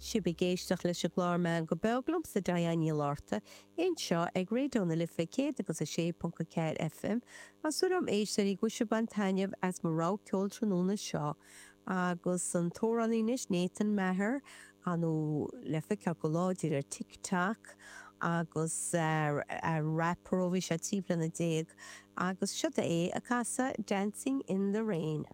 Sibh ag éisteacht leis an gclár Meangadh Beag liomsa Diane Ní Fhlatharta anseo ag Raidió na Life 106.4 FM. Tá súil agam éisteoirí go bhfuil sibh ag baint taitneamh as mo rogha ceoil tráthnóna seo agus an t-amhránaí anois Nathan Maher nó le feiceáil go láidir ar TikTok agus rapper ó bhí sé 13 bliana agus seo é ag casadh Dancing in the Rain.